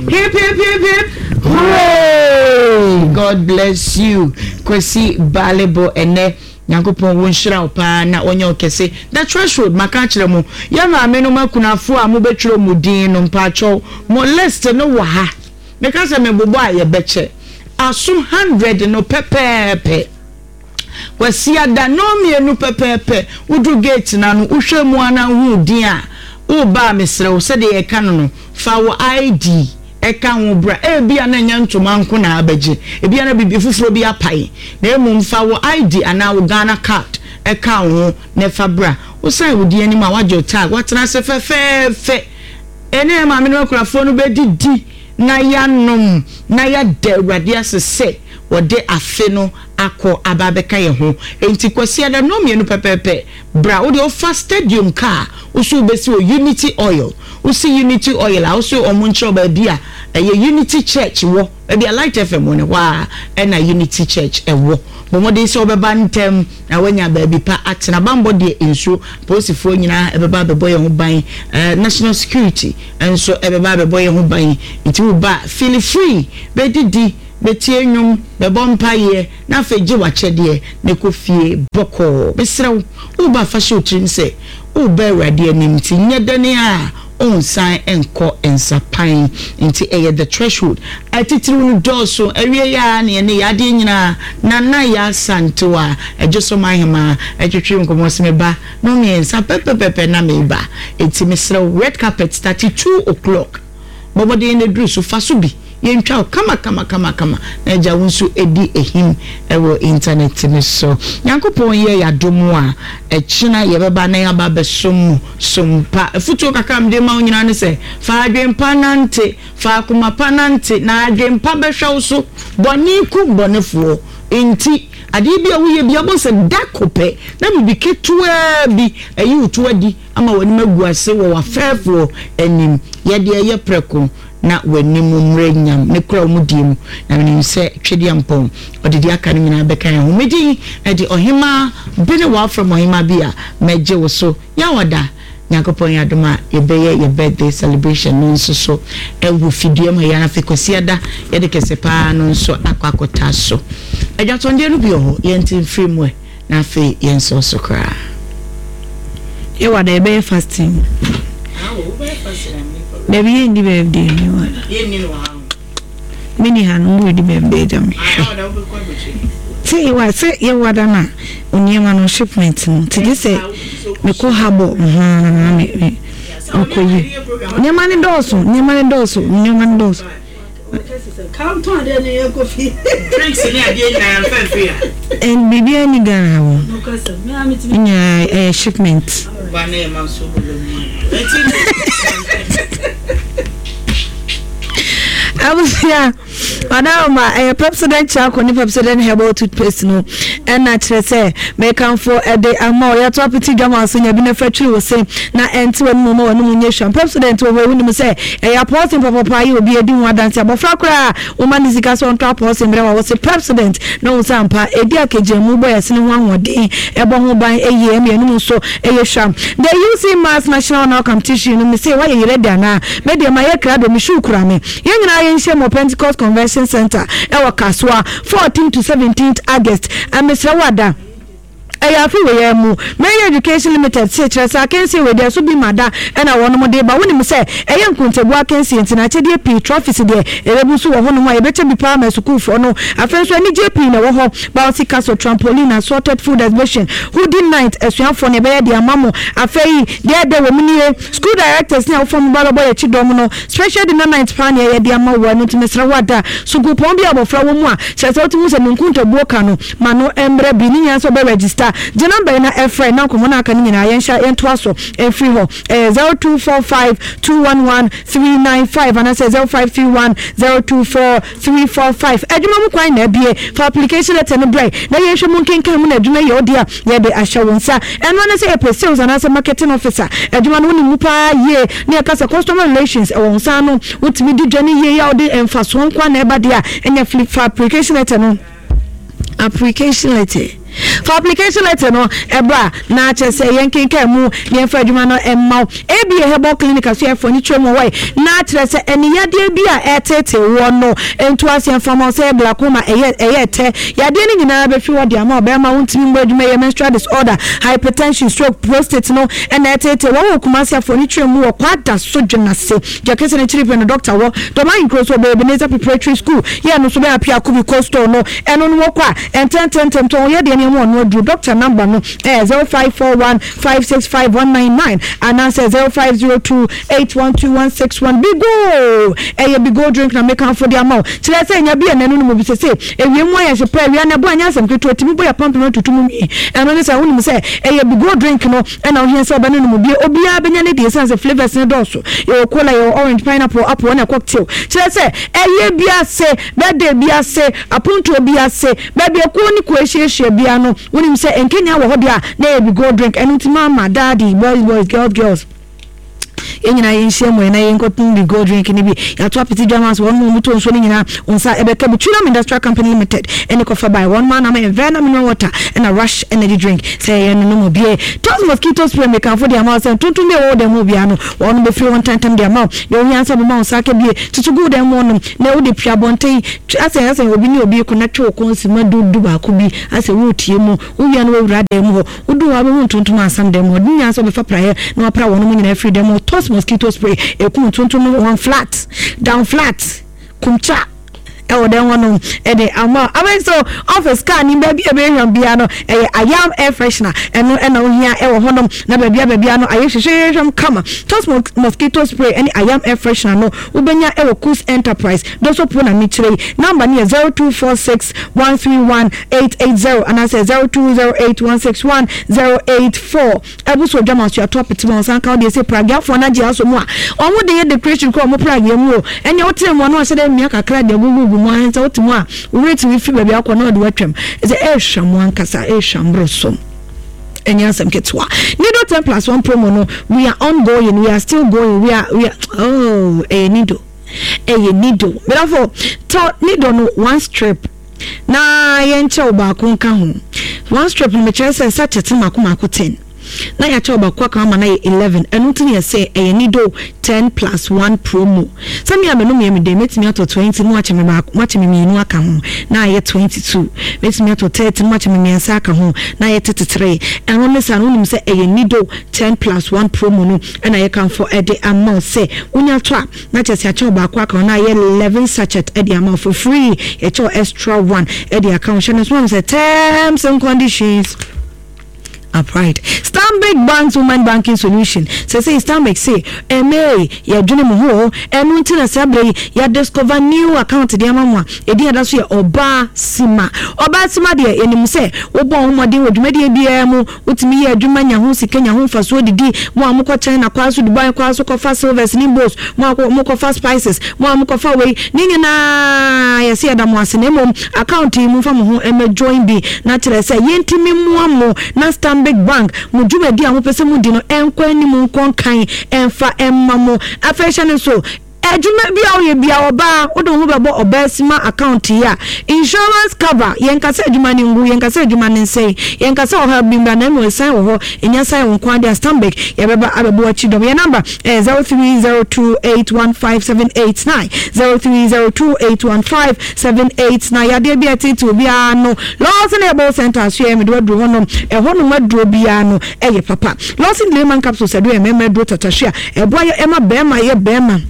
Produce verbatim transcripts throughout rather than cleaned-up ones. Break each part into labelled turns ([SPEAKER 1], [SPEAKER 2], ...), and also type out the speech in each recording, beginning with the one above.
[SPEAKER 1] Hip hip hip hip hooray! God bless you, Kwesi Balebo. Ɛnɛ Nyankopɔn wo nhyira wo paa na ɔnyɛ wo kɛse. The Threshold, maka akyerɛ mo, yɛ maame nom akunafoɔ a mobɛtwerɛ mo din no, mpaakyɛw mo list no wɔ ha. Meka sɛ mebobɔ a yɛbɛkyɛ aso hundred no pɛpɛɛpɛ. Kwasiada nnɔnmienu pɛpɛɛpɛ wodu gate no ano, wohwɛ mu a na wohu din a woreba a, mesrɛ wo, sɛdeɛ yɛka no no, fa wo I D ɛka ho bra. Ebia na ɛnyɛ ntoma nko na abɛgye, ebia na biribi foforɔ bi apae, na mmom fa wo I D anaa wo Ghana Card ɛka wo ho na ɛfa bra. Wosan wo din anim a, woagye wo tag, woatena ase fɛfɛɛfɛ. Ɛne maame no akurafoɔ no bɛdidi na yɛanom na yɛada Awurade ase sɛ wɔde afe no akɔ aba abɛka yɛn ho. Enti Kwasiada nnɔnmienu pɛpɛɛpɛ bra. Wode wofa Stadium car, woso wobɛsi wɔ Unity Oil. Wosi Unity Oil a, woso ɔmo nkyerɛw baabi a ɛyɛ Unity Church wɔ, baabi a Light F M wɔ ne hɔ a ɛna Unity Church ɛwɔ. Bɔ mmɔden sɛ wobɛba ntɛm na woanya baabi pa atena. Bambɔ deɛ, nsuo polisifoɔ nyinaa ɛbɛba abɛbɔ yɛn ho ban, ɛɛ national security nso ɛbɛba abɛbɔ yɛn ho ban. Nti woba, feel free, bɛdidi, bɛtie nnwom, bɛbɔ mpaeɛ, na afei gye w'akyɛdeɛ na kɔ fie bɔkɔɔ. Mesrɛ wo, woba, fa hyɛ wo tirim sɛ woba Awurade anim, nti nyɛ dɛne a ɔnsan nkɔ nsapan. Nti ɛyɛ The Threshold. Atitiriw no dɔɔso. Awie yɛ a ne yɛne yɛ adeɛ nyinaa Nana yɛ Asantew a ɛgye so ma ahema ɛtwetwe nkɔmmɔ sɛ meba no mmiɛnsa pɛpɛpɛpɛ na meba. Enti mesrɛ wo, red carpet start two o'clock. Bɔmmɔden na duru so, fa so bi yɛntwa wo kama kama kama kama na agya wo nso edi ehim ɛwɔ internet no so. Nyankopɔn yɛ yɛadom a, ɛkyena yɛbɛba na yɛaba abɛsom mu sompa. Afutuo kakra mede ma wo nyinaa ne sɛ, fa adwempa nante, fa akoma pa nante, na adwempa bɛhwɛ wo so. Bɔne kum bɔnefoɔ, nti adeɛ bi a woyɛ bi abɔ sɛ da kopɛ na biribi ketewaa bi ɛyi wo to adi ama w'anim agu ase wɔ w'afɛɛfoɔ anim. Yɛde ɛyɛ prɛko na w'anim mmerɛ nyam ne kura wo mu die mu, na menim sɛ Twedeɛ Mpɔn ɔde deɛ aka no nyinaa bɛka yɛn ho. Medin ɛde Ɔhema bi ne wɔafrɛ m Ɔhema bi a mɛgye wo so. Yɛawada Nyankopɔn yɛ adom a, yɛbɛyɛ yɛ birthday celebration no nso so ɛwɔ fidua mu ha yɛn. Afei Kwasiada yɛde kɛse paa no nso akɔ akɔta so. Adwatɔndeɛ no bi wɔ hɔ, yɛnte mfiri mu ɛ, na afei yɛn nso so koraa.
[SPEAKER 2] Yɛwɔ ada, yɛbɛyɛ fasting. Dabi, yɛnni birthday no yɛwɔ ada. Meni ha no mo redi birthday gya me sɛ yɛwɔ sɛ yɛwɔ ada na nneɛma no shipment no nti gye sɛ mekɔ habɔ me me mekɔ yi nneɛma no dɔɔso, nneɛma no dɔɔso, nneɛma no dɔɔso.
[SPEAKER 1] Drinks ne adeɛ nyinaa yɛmfa mfiri ha.
[SPEAKER 2] Ɛn biribiara ni Ghana ha wɔ nyinaa, ɛyɛ shipment.
[SPEAKER 1] Ba na yɛma nso bolo mu a
[SPEAKER 2] Abusua ɔdaroma, ɛyɛ Pepsodent Charcoal ne Pepsodent Herbal Toothpaste no ɛna kyerɛ sɛ mekamfo ɛde ama wo. Yɛto apete dwama so nya bi na fa twiri wo se na ɛnte w'anim ma w'anim nyɛ hwam. Pepsodent wɔ hɔ, wonim sɛ ɛyɛ apɔɔsen papapa yɛ obi adi ho adanse. Abɔfra koraa woma ne sika sɛ ɔntɔ apɔɔsen berɛ wa wɔ se Pepsodent na wo sɛ ampa ɛdi akagya mu bɔ yɛsene ho ahoɔden, ɛbɔ ho ban ɛyie, ɛma yɛnum nso ɛyɛ hwam. The U C Maths National Honor Competition no, me se woayɛ yerɛ de anaa? Me deɛ mayɛ krado, me shoe kura me. Yɛn nyinaa yɛnhyia mu wɔ Pentecost Convention Center ɛwɔ Kasoa, fourteen to seventeen August. Mesrɛ wo ada, ɛyɛ afe wɔ yɛn mu. Mary Education Limited se kyerɛ sɛ akansie wei deɛ so bi ma da ɛna wɔnom de ba. Wonim sɛ ɛyɛ nkontabu akansie, nti na akyɛdeɛ pii, trophies deɛ ɛbɛbu so wɔ hɔnom a yɛbɛkyɛ bi paa ma asukuufoɔ no. Afei nso anigyeɛ pii na ɛwɔ hɔ: bouncy castle, trampoline, assorted food exhibition, hoodie night. Asuafoɔ no yɛbɛyɛ de ama mo. Afei deɛ ɛdɛ wɔ mu nie, school directors ne awofoɔ mo ba bɛbɔ yɛkyi dɔm no, special dinner night paa ne ɛyɛ de ama wo. Ɛno nti mesrɛ wo ada, sukuupɔn bi a abɔfra wɔ mu a kyerɛ sɛ wotumi sɛ ne nkontabuo ka no ma no mmerɛ bi ne nyinaa sɛ wobɛ register, gye number yi na ɛfrɛ na nkɔmmɔ no aka no nyinaa yɛnhyɛ yɛntoa so ɛmfiri hɔ. Ɛyɛ zero two four five two one one three nine five anaasɛ zero five three one zero two four three four five. Adwuma mu kwan na abie. Fa application letter no brɛ na yɛnhwɛ mu nkenkan mu na adwuma yɛ ɔde a yɛde ahyɛ wo nsa. Ɛno ne sɛ yɛpɛ sales anaasɛ marketing officer adwuma no, wonim mu paa yie ne yɛka sɛ customer relations ɛwɔ wo nsa ano, wotumi di dwa no yie a wode mfasoɔ nko a na ɛba deɛ a ɛnyɛ. Fa application letter no, application letter. Fa application letter no ɛbra na kyerɛ sɛ yɛnkenkan mu na yɛmfa adwuma no mma wo. A B A Herbal Clinic asoɛfoɔ ne kyerɛ mu wɔ na kyerɛ sɛ ɛne yadeɛ bi a ɛtete wɔ no nto aseɛ mfa ma wo sɛ glaucoma, ɛyɛ ɛyɛ tɛ yadeɛ no nyinaa bɛfiri hɔ de ama ɔbɛrima wontumi mbɔ adwuma, yɛ menstrual disorder, hypertension, stroke, prostate no ɛna ɛtete wɔn wɔ Kumasi afoɔ ne kyerɛ mu wɔ Kwada so Dwenase gyakɛsɛ no kyerɛ pɛ no doctor wɔ Dɔm Ahenkuro so ɔbɛyɛ Ebenezer Preparatory School yɛ no so bɛyɛ Apia Kubi Coastal no ɛno no wɔkɔ a ɛntɛntɛntɛm tɔn yɛ deɛ nneɛma ɔno aduru. Doctor number no ɛyɛ zero five four one five six five one nine nine anaasɛ zero five zero two eight one two one six one. Bigo, ɛyɛ Bigo drink na mekanfo de ama wo kyerɛ sɛ nya bi ɛnɛ no no mu bi sese ewie mu ayɛ hye pɛ awia na ɛbɔ anyɛ asɛm ketewa tumi bɔ yɛ pampam atutu mu mii. Ɛno ne sɛ wonim sɛ ɛyɛ Bigo drink no ɛna wohia sɛ ɔbɛno no mu bie. Obiara bɛnya ne deɛ ɛsiane sɛ flavours ne dɔɔso. Yɛwɔ cola, yɛwɔ orange, pineapple, apple ɛna cocktail. Kyerɛ sɛ ɛyɛ bi ase, birthday bi ase, apontoɔ bi ase, baabi ekuo ne kuo ahyiahyia bia no, wonim sɛ nkenya wɔ hɔ deɛ a na ɛyɛ Bigo drink. Ɛno nti mama, daddy, boys boys, girls girls, yɛn nyinaa yɛnhyia mu na yɛnkɔtom Bigo drink no bi. Yɛato apete dwama so wɔn mu ɔmo nsuo no nyinaa wɔn nsa ɛbɛka bi. Twinam Industrial Company Limited ɛne kɔfa bae wɔn mu anam Envena mineral water ɛna Rush energy drink sɛ yɛn no nom bie. Tos mosquito spray, mekanfo de ama wo sɛ ntontom bi a wɔwɔ dan mu biara no wɔn bɛfiri wɔn ntɛntɛm de ama wo. Deɛ ohia nsa bɛma wo nsa aka bie tutu gu dan mu nom na wode pia abɔnten asɛ asɛ obi ne obi ko na twe wo kɔn si ma du du baako bi asɛ woretie mu wowia no wawura dan mu hɔ. Wodu hɔ abɛhu ntontom asam dan mu hɔ de nyinaa sɛ wobɛfa praeɛ na wapra wɔn mu nyinaa firi dan mu. Tos mosquito spray ɛkum ntontom no one flat down flat kumcha ɛwɔ dɛn hɔ nom ɛde ama abɛn so office car ni baabi a ɛbɛhwam bia no ɛyɛ Ayam air freshener. Ɛno ɛna ohia ɛwɔ hɔnom na baabi a baabi a no ayɛ hwehwehwɛm kama. Tos mosquito spray ɛne Ayam air freshener no wobɛnya ɛwɔ Kus Enterprise doso po na mekyerɛ yi. Number no yɛ zero two four six one three one eight eight zero anaasɛ zero two zero eight one six one zero eight four. Ɛbo so odwama so yɛato apete ma ɔsan ka wo deɛ sɛ pragiafoɔ no agye asɔ mu a ɔmo de yɛ decoration kora ɔmo pragia mu o. Ɛnea wote mu a na wahyɛ dɛ mmea kakra de agugugu mu ahɛn sɛ wote mu a wowura tumi fi baabi akɔ na ɔde watwam sɛ ɛrehwɛ mu ankasa, ɛrehwɛ mboro so, ɛnyɛ asɛm ketewa. Nido ten plus one promo no, we are ongoing, we are still going, we are we are oh, ɛyɛ Nido, ɛyɛ Nido. Medafo, tɔ Nido no one strip na yɛnkyɛw baako nka ho. One strip no mekyerɛ sɛ sachet mako mako ten na yɛakyɛw baako aka ama na yɛ eleven. Ɛno nti ne yɛsɛ ɛyɛ Nido ten plus one promo. Sɛ me a menom yɛ me den, mɛtumi atɔ twenty na wakyɛ me baako, wakyɛ me mmienu aka ho na ayɛ twenty two. Mɛtumi atɔ thirty na wakyɛ me mmiɛnsa aka ho na ayɛ thirty three. Ɛno ne saa no wonim sɛ ɛyɛ Nido ten plus one promo no ɛna yɛkamfo ɛde ama wo sɛ wonya tɔ a na kyerɛ sɛ akyɛw baako aka ho na ayɛ eleven sachet ɛde ama wo for free. Yɛkyɛw extra one ɛde aka ho. Hyɛ no so sɛ terms and conditions upright. Stanbic Bank's Women Banking Solution sɛ sɛ Stanbic se ɛmɛ yɛdwene mo ho. Ɛno nti na saa berɛ yi yɛdiscover new account de ama mo a ɛdin ada so yɛ Ɔbaa Sima. Ɔbaa Sima deɛ, yɛnim sɛ wobɔ ho mmɔden wɔ dwumadie biara mu, wotumi yɛ adwuma nya ho sika, nya ho mfasoɔ didi. Mo a mokɔ China kwaa so, Dubai kwaa so kɔfa silvers ne bos, mo a mokɔfa spices, mo a mokɔfa wei ne nyinaa, yɛsɛ yɛda mo ase. Na mmom account yi momfa mo ho ɛmɛ join bi na kyerɛ sɛ yɛntumi mmoa mo na Stanbic Bank mo dwumadi a mopɛ sɛ modi no ɛnkɔ anim, nkɔ nkan, ɛmfa ɛmma mo. Afei hyɛ no nso, adwuma bi a woyɛ bia, ɔbaa wode wo ho bɛbɔ Ɔbaa Sima account yi a, insurance cover. Yɛnkasa adwuma no ngu, yɛnkasa adwuma no nsɛe, yɛnkasa ɔha bi mbra na mmom ɛsan wɔ hɔ ɛnya san wo nko ade a Stanbic yɛbɛba abɛbɔ akyi dɔm. Yɛ number ɛyɛ zero three zero two eight one five seven eight nine, zero three zero two eight one five seven eight nine. Yadeɛ bi a ɛtete obiara no, Lawson Herbal Center so yɛ mede waduro hɔnom. Ɛhɔnom aduro biara no ɛyɛ papa. Lawson Layman capsule sɛ do yɛ mmarima aduro tatahwe a ɛboa yɛ ɛma bɛrima yɛ bɛrima.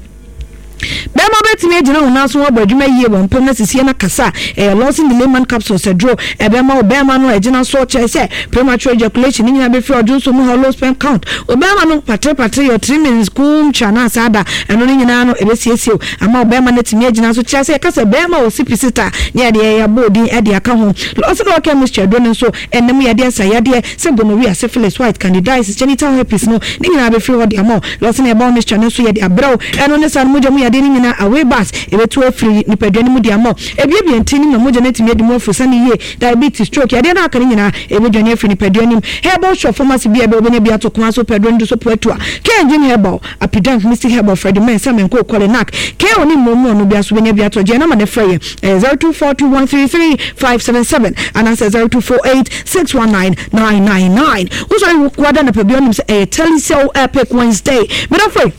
[SPEAKER 2] Bɛrima bɛtumi agyina wo nan so abɔ adwuma yie wɔ mpam na sisie no kasa. Ɛyɛ Lawson Layman capsule sɛ duro ɛbɛma wo bɛrima no ɛgyina so kyerɛ sɛ premature ejaculation ne nyinaa bɛfiri ɔdwo nso mu ha, low sperm count, ɔbɛrima no patere yɛ three minutes kum twa na asa ada. Ɛno no nyinaa no ɛbɛsiesie wo ama wo bɛrima no atumi agyina so kyerɛ sɛ yɛka sɛ bɛrima wɔ sipi sita ne yɛde yɛyɛ abɔ odin ɛde aka ho. Lawson ɔkɛ mixture duro no nso ɛnam yadeɛ nsa yadeɛ sɛ gonorrhea, syphilis, white, candidiasis, genital herpes no ne nyinaa bɛfiri hɔ de ama wo. Lawson herbal mixture no nso yɛde abrɛw. Ɛno ne saa no mogya mu yadeɛ no nyinaa away. bugs ɛbɛtu afiri nipadua no mu de ama. Ebiebie ntini ma mogya no atumi adi mu afuru sane yie. Diabetes, stroke, yadeɛ no aka no nyinaa ɛbɛdwane afiri nipadua no mu. Herbal shop, pharmacy bi a ɛbɛ wobɛnya bi ato kwan so pɛduro no do so poatua K-Engine Herbal, Apidank, Mystic Herbal, Freddie Mensa, Menko, Kɔlenak, K O ne mmomu ɔno bi aso bɛnya bi ato. Gye nama ne frɛ yɛ ɛyɛ zero two four two one three three five seven seven anaasɛ zero two four eight six one nine nine nine nine. Wosɔre wada napa bi ɔnim sɛ ɛyɛ Telecel Epic Wednesday. Medafo,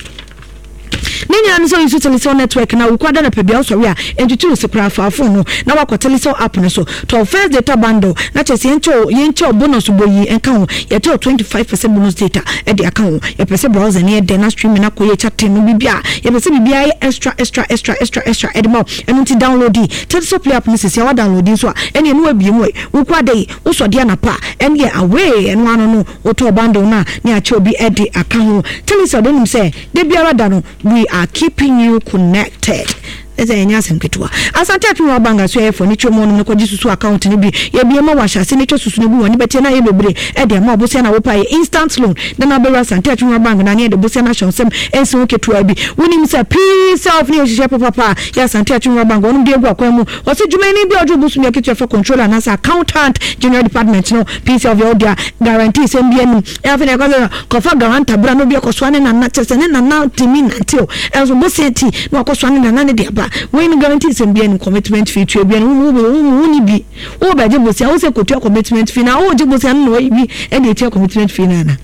[SPEAKER 2] ne nyinaa no sɛ woyi so Telecel network na wokɔ ada napa bia wosɔre a ɛntwitwi wo se koraa, fa phone no na wakɔ Telecel app no so, tɔ first data bundle na kyerɛ sɛ yɛnkyɛw yɛnkyɛw bonus bɔ yi ɛnka ho. Yɛkyɛw twenty five percent bonus data ɛde aka ho. Yɛpɛ sɛ browser ne yɛ dɛ na streaming akɔ yɛ, chatting no biribi a yɛpɛ sɛ biribiara yɛ extra extra extra extra extra ɛde ma wo. Ɛno nti download yi Telecel Play app no sisi a wa download yi nso a, ɛne ɛno abie mu ɛ. Wokɔ ada yi wosɔ de anapa a, ɛne yɛ away ɛno ano no wotɔ bundle no a ne akyɛw bi ɛde aka ho. Telecel de nim sɛ de biara da no, we are keeping you connected. Ɛsɛ ɛnyɛ asɛm ketewa. Asante Akim wa bank so yɛfɔ ne twɛ mu ɔnom no kɔgye susu account no bi. Yɛbie ma wahyɛ ase ne twɛ susu no gu wɔn ne bɛtiɛ na ayɛ bebree ɛde ama ɔbosia na wopa yɛ instant loan na na abɛwura Asante Akim wa Bank na ne yɛde bosia no ahyɛ nsɛm ɛnsi ho ketewa bi. Wonim sɛ pii self ne yɛhyehyɛ papapa yɛ Asante Akim wa Bank wɔnom de agu akwan mu. Wɔsɛ dwumani bi a ɔgye obosom yɛ ketewa fɛ controller anaasɛ accountant, general department no pii self yɛ ɔdea guarantee sɛm bi anim. Ɛafei na ɛkɔ sɛ kɔfa guarantor bra na obi akɔsoa ne nana, kyerɛ sɛ ne nana tumi nante o, ɛnso bosia ti na wakɔsoa ne nana ne de aba. Wei no guarantee sɛm bi anim, commitment fee tua bi anim. Wo wo wo ni bi wo bɛgye bosia wo sɛ kotua commitment fee na wo gye bosia no na wayi bi ɛde etua commitment fee na ana.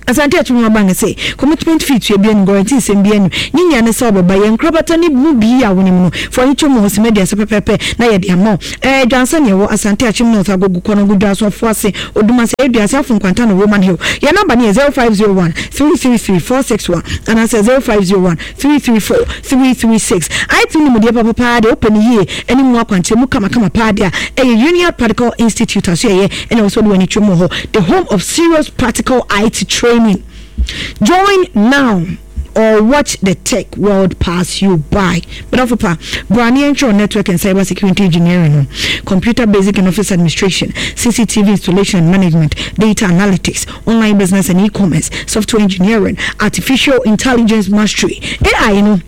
[SPEAKER 2] Asante Akyem wa Bank sɛ commitment fee tua bi anim, guarantee sɛm bi anim. Ne nyia ne sɛ ɔbɛba yɛn nkorabata ne mu bi a wonim no fo ani twɛ mu wɔ sɛmɛ aduasa pɛpɛɛpɛ na yɛde ama wo. Ɛɛ dwansa ne ɛwɔ Asante Akyem North, Agogo Kɔnɔgo, Dwaso Afoase, Odumase, Eduase, Afo Nkwanta no Roman Hill. Yɛn number ne yɛ zero five zero one three three three four six one anaasɛ zero five zero one three three four three three six. I T nimdeɛ papapaa deɛ wopɛ ne yie ɛne mu akwankyerɛ mu kamakama paa deɛ a, ɛyɛ Union Practical Institute aso yɛyɛ ɛna wɔ sɛ wode w'ani twɛ mu wɔ hɔ, the home of serious practical I T training. Join now or watch the tech world pass you by. But pa, Brani Entry Network and Cyber Security Engineering, Computer Basic and Office Administration, C C T V Installation and Management, Data Analytics, Online Business and E-Commerce, Software Engineering, Artificial Intelligence Mastery. A I, you know,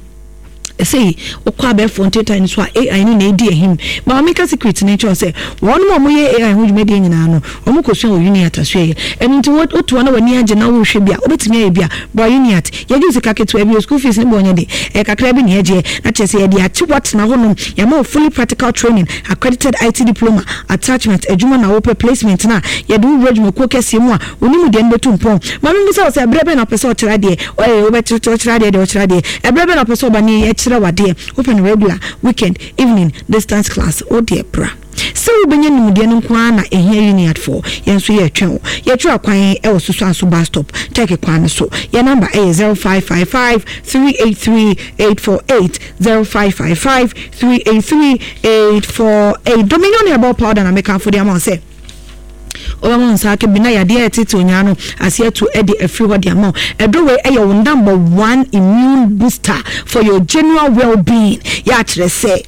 [SPEAKER 2] sɛ wokɔ abɛɛfo ntentan no so a, A I no na ɛdi ahim. Ma meka secret no nkyɛw sɛ wɔn a wɔyɛ A I ho dwumadie nyinaa no, wɔn kɔsua wɔ Uniat aso yɛ. Ɛno nti wotoa na w'ani agye na wohwɛ bi a wobɛtumi ayɛ bi a, bra Uniat. Yɛgye wo sika ketewa bi o, school fees ne bɔ ɔnyɛ de, ɛyɛ kakra bi ne yɛgyeɛ na kyerɛ sɛ yɛde akye woatena hɔnom. Yɛama wo fully practical training, accredited I T diploma attachment. Adwuma na wopɛ, placement no a yɛde wo wura adwumakuo kɛseɛ mu a wonim deɛ no bɛtu mpɔn. Ma membu sɛ wo sɛ ɛberɛ bɛn na wopɛ sɛ ɔkyerɛ adeɛ? Ɔyɛ wobɛkyerɛ adeɛ deɛ ɔkyerɛ adeɛ. Ɛberɛ bɛn na wopɛ sɛ ɔba ne yɛkyerɛ wadeɛ? Wopɛ no regular, weekend, evening, distance class? Wodeɛ bra sɛ wobɛnya nimdeɛ no nko ara na ɛhia. Uniatfoɔ, yɛn nso yɛtwɛn wo. Yɛtwerɛ akwan ɛwɔ soso aso bus stop, Turkey kwan no so. Yɛn number ɛyɛ zero five five five three eight three eight four eight, zero five five five three eight three eight four eight. Dominion Herbal Powder na mekamfo de ama wo sɛ ɔbɛma nsa aka bi na yadeɛ a ɛtete onyaa no ase atu de afiri hɔ de ama wo. Ɛduro wei ɛyɛ wo number one immune booster for your general well-being. Yɛ akyerɛ sɛ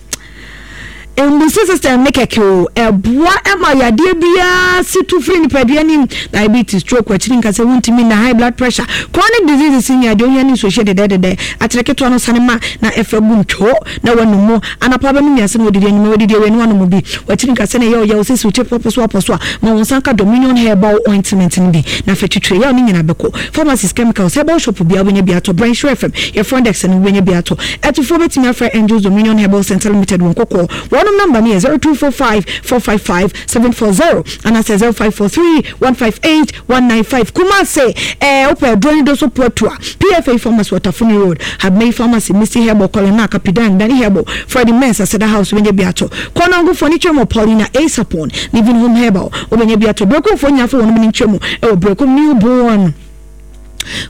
[SPEAKER 2] mbusi system ne kɛkɛ o, ɛboa ɛma yadeɛ biara si tu firi nipadua nim: diabetes, stroke, akyiri nkasa wuntumi na high blood pressure, chronic diseases nya deɛ ohia ne nsuohyɛ dedɛdedɛ. Akyerɛ ketewa no sane ma na ɛfɛ gu ntwo na wanum mu anapa bɛnum mmiɛnsa na wɔdidi enyima, wɔdidi awie na wanum bi. Wakyiri nkasa na ɛyɛ ɔyɛ osisi wokye pɔpɔ so apɔ so a, ma wɔn nsa nka Dominion Herbal Ointment no bi na afɛ twitwiri yaw ne nyinaa bɛkɔ. Pharmacies, chemicals, herbal shop biara wobɛnya bi atɔ. Brɛnhyerɛ F M yɛ front desk no wobɛnya bi atɔ. Ɛtofoɔ bɛtumi afrɛ Angels Dominion Herbal Center Limited wɔn kɔkɔɔ. Wɔnom number no yɛ zero two four five four five five seven four zero anaasɛ zero five four three one five eight one nine five. Kumase, ɛɛ wopɛ aduro ne do so poatua, P F A Pharmacy, Watafuni Road, Habmei Pharmacy, Misty Herbal, Kɔlena, Kapidan, Dani Herbal, Freddie Mens, Aseda House wobɛnya bi atɔ. Kɔnɔngofoɔ ne twɛ mu Paulina Asapon, Living Home Herbal wobɛnya bi atɔ. Brekumfoɔ nyinafo wɔnom ne ntwɛ mu ɛwɔ Brekum Newborn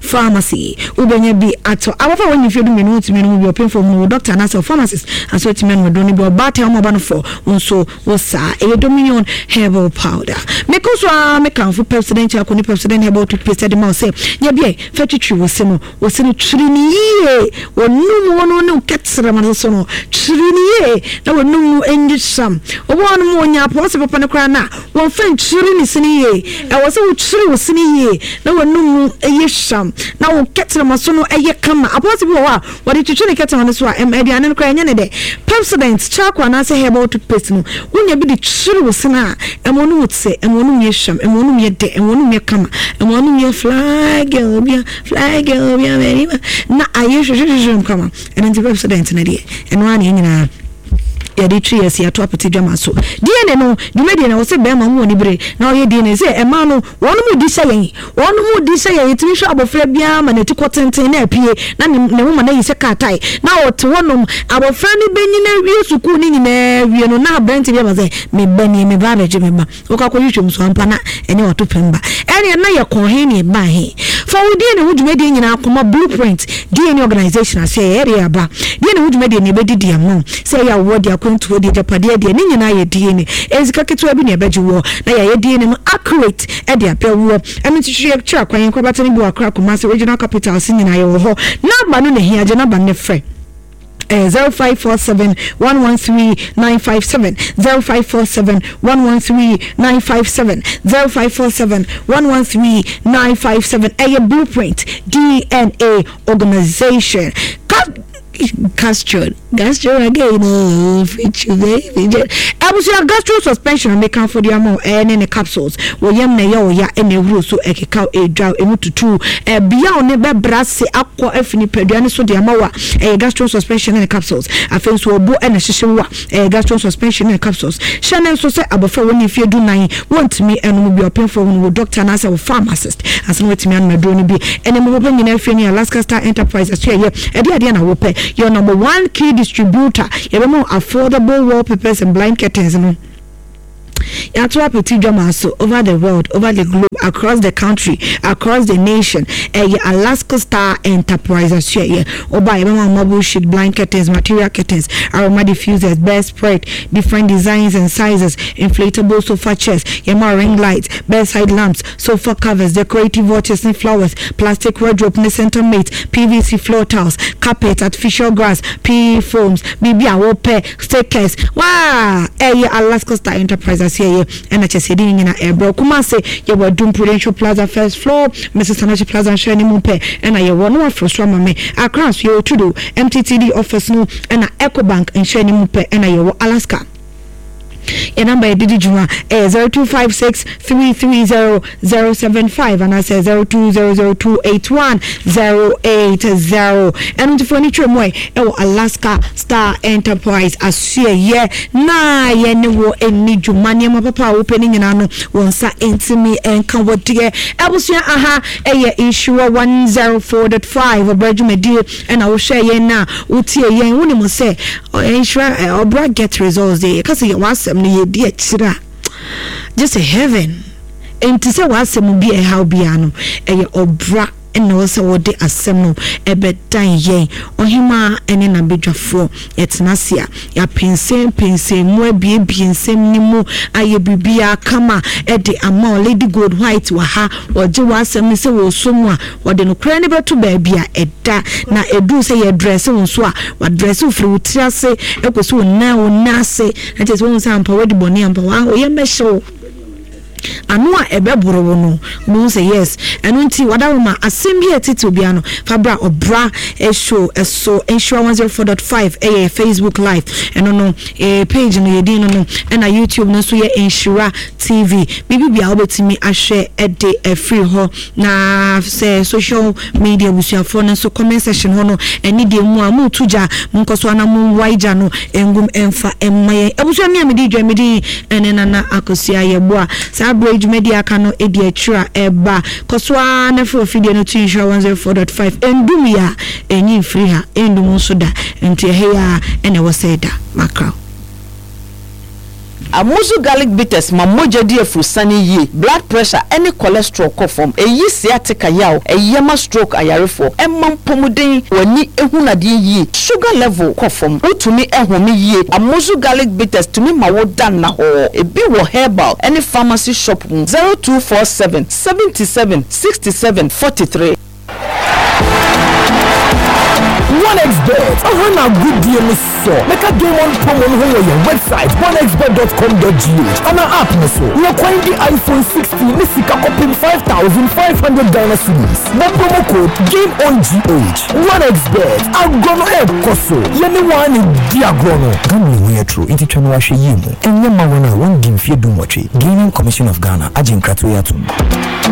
[SPEAKER 2] Pharmacy wobɛnya bi atɔ. Abɔfra a wɔnyi mfeɛ du mmienu wotumi no mu bi, ɔpemfoɔ mu wɔ doctor anaasɛ pharmacist aso atumi anom aduro no bi. Ɔbaatan mu ɔba no fɔ wo nso wo saa. Ɛyɛ Dominion Herbal Powder. Mekɔ so a mekamfo Pepsodent Charcoal ne Pepsodent Herbal Toothpaste de ma wo sɛ nya bi a fa twitwi wo se no. Wo se no twiri ne yie, wɔnum wɔ no ne wo kɛtrɛma no so no, twiri ne yie na wɔnum no nyi hyam. Wɔbɔ hɔ no mu wɔnya apɔn papa no koraa no a wɔmfa ntwiri ne se no yie. Ɛwɔ sɛ wotwiri wo se no yie na wɔnum no ɛyɛ hyam na wo kɛtɛrɛma so no ɛyɛ kama. Apɔnte bi wɔ hɔ a wɔde twitwi ne kɛtɛrɛma no so a, ɛm aduane no koraa ɛnyɛ ne dɛ. Pepsodent charcoal anaasɛ herbal toothpaste no, wonya bi de twiri wo sene a, ɛma ɔno mu te, ɛma ɔno mu yɛ hyam, ɛma ɔno mu yɛ dɛ, ɛma ɔno mu yɛ kama, ɛma ɔno mu yɛ fly girl bia, fly girl bia mɛrima na ayɛ hwehwehwehwɛ kama. Ɛno nti Pepsodent no deɛ, ɛno ara na yɛn nyinaa yɛde twi yɛ si ato apete dwama so. D N A no dwumadie na wɔsɛ bɛrima mu wɔ ne bere na ɔyɛ D N A sɛ ɛmaa no wɔn mu di hyɛ yɛn, wɔn mu di hyɛ yɛn. Yɛtumi hwɛ abɔfra biara ma n'ati kɔ tenten na apie na ne ne ho ma n'ayi sɛ kaatae na ɔte hɔnom. Abɔfra no bɛnyina wie sukuu ne nyinaa wie no, na aberante bi aba sɛ meba nie, meba abɛgye me ba. Wokɔ akɔhwehwɛ mu so ampa na ɛne wato pɛm ba. Ɛneɛ na yɛkɔɔ he ne ɛbaa he fa wo D N A ho dwumadie nyinaa kɔma Blueprint D N A Organization ase. Ɛyɛ de aba D N A ho dwumadie ne ɛbɛdidi ama wo sɛ ɛyɛ awoɔ de, akwantuo de, agyapadeɛ deɛ, ne nyinaa yɛ D N A. Ɛyɛ sika ketewa bi ne ɛbɛgye woɔ na yɛayɛ D N A no accurate ɛde apɛ woɔ. Ɛno nti hwehwɛ kyerɛ akwan. Yɛn nkorabata no bi wɔ Akra, Kumase, regional capital se nyinaa yɛwɔ hɔ. Namba no na hia, gye namba no ne frɛ zero five four seven one one three nine five seven, zero five four seven one one three nine five seven, zero five four seven one one three nine five seven. Ɛyɛ Blueprint D N A Organization. Gastro, gastro again, oh, you baby. Abusua, gastro suspension meka for the ama ɛne ne capsules. Wɔyam na ɛyɛ ɔya ɛna ehuro so ɛkeka edwa emu tutu ɛbea ɔne bɛbra se akɔ afi nipadua ne so de ama wa, ɛyɛ gastro suspension ne capsules. Afei nso ɔbo ɛna hyehyɛ wa, ɛyɛ gastro suspension ne capsules. Hyɛ ne nso sɛ abɔfra wɔn ne mfie du nan wɔntumi ɛnom bi. Ɔpɛnfoɔ wɔn wɔ doctor anaasɛ wɔ pharmacist ansa na wɔatumi anom aduro no bi. Ɛne mo papa nyinaa fie ne Alaska Star Enterprise ɛso yɛ ɛde adeɛ na wɔpɛ. Yɛ number one key distributor. Yɛbɛma affordable wallpapers and blind curtains no. Yɛato apete dwama so over the world, over the globe, across the country, across the nation. Ɛyɛ Alaska Star Enterprise aso ɛyɛ ɔba. Yɛbɛma marble sheet, blind curtains, material curtains, aroma diffusers, bedspread, different designs and sizes, inflatable sofa chairs. Yɛma ring lights, bedside lamps, sofa covers, decorative watches ne flowers, plastic wardrobe ne center mate, P V C floor tiles, carpet, artificial grass, P E foams, biribi a wɔpɛ, stickers waa. Ɛyɛ Alaska Star Enterprise ase ɛyɛ ɛna kyɛ sɛ ɛde ne nyina ɛbrɛ. Kumase yɛwɔ Adum Prudential Plaza, first floor, Missus Anachi Plaza nhyɛn ne mu pɛ ɛna yɛwɔ no. Waforo so ama me. Accra so yɛwɔ Tudo M T T D office no ɛna Ecobank nhyɛn ne mu pɛ ɛna yɛwɔ Alaska. Yɛ number yɛde di dwuma ɛyɛ zero two five six three three zero zero seven five anaasɛ zero two zero zero two eight one zero eight zero. Ɛno nti fo ani twɛ mu ɛ ɛwɔ Alaska Star Enterprise asoɛyɛ na yɛne wɔ ani dwuma. Nneɛma papa a wopɛ no nyinaa no, wɔn nsa ntumi nka wɔ deɛ. Abusua, aha ɛyɛ Nhyira one zero four point five Ɔbra dwumadie ɛna wohwɛ yɛn na wotie yɛn. Wonim sɛ Nhyira Ɔbra Get Results deɛ, yɛka sɛ yɛwɔ asɛm no yɛdi akyire a gye sɛ heaven. Nti sɛ w'asɛm bi a ɛhaw biara no, ɛyɛ ɔbra ɛna wɔ sɛ wɔde asɛm no ɛbɛdan yɛn. Ɔhemaa ɛne n'abadwafoɔ yɛtena ase a, yɛapɛnsɛmpɛnsɛn mu, abiebie nsɛm no mu, ayɛ biribiara kama ɛde ama o. Lady Gold White wɔ ha, wɔgye w'asɛm no sɛ wɔsɔ mu a, wɔde nokorɛ no bɛto baabi a ɛda na ɛduru sɛ yɛdrɛse wo nso a, wadrɛse wo firi wo tiri ase ɛkɔsi wo nan wo nan ase, na kyerɛ sɛ wohu sɛ ampa wadi bɔne, ampa woyɛ mmɛhyɛ wo ano a ɛbɛboro wo no, mo sɛ yes. Ɛno nti wadaroma asɛm bi a ɛtete obiara no, fa bra Ɔbra Show ɛso. Nhyira one zero four point five ɛyɛ Facebook Live, ɛno no eh, page no yɛdin no no ɛna YouTube no nso yɛ Nhyira T V. Biribi bia wobɛtumi ahwɛ ɛde ɛfiri hɔ. Na sɛ social media abusuafoɔ no nso, comment section hɔ no, ɛne deɛ mu a moto gya, monkɔ so ana monwae gya no ngum ɛmfa ɛmma yɛn. Abusua mi a mede dwa mede ɛne Nana Akosua Yɛboa saa berɛ dwumadi aka no ɛdi akyire a ɛba kɔ so ara na firi ofidie no to Nhyira one zero four point five. Ɛndum yi a ɛnyi mfiri ha, ɛndum nso da, nti ɛhɛ yi a ɛna ɛwɔ sɛ ɛda makraw.
[SPEAKER 3] Amuzu Garlic Bitters ma mogya di afurusane yie, blood pressure ɛne cholesterol kɔ fam, ɛyi sciatica yaw, ɛyɛ ma stroke ayarefoɔ, ɛma mpɔmuden, w'ani ehu nadeɛ yie, sugar level kɔ fam, wotumi ɛhome yie. Amuzu Garlic Bitters tumi ma wo da nna hɔ. Ebi wɔ herbal ɛne pharmacy shop mu. zero two four seven seventy seven sixty seven forty three.
[SPEAKER 4] One X Bet ɔhɔ na agodie no sɔ. Mɛka Game On promo no ho wɔ yɛn website one x bet dot com dot g h ana app no so. Yɛ kwan di iPhone sixteen ne sika kɔpem five thousand five hundred Ghana cedis. Bɔ promo code Game On G H. One X Bet, agorɔ no ɛɛkɔ so, yɛne wɔn ne di agorɔ no. Gambling ho yɛ toro, nti twa no wahwɛ yie mu. Ɛnyɛ ma wɔn a wɔndi mfeɛ du nwɔtwe. Gaming Commission of Ghana agye nkratoɔ yi atom.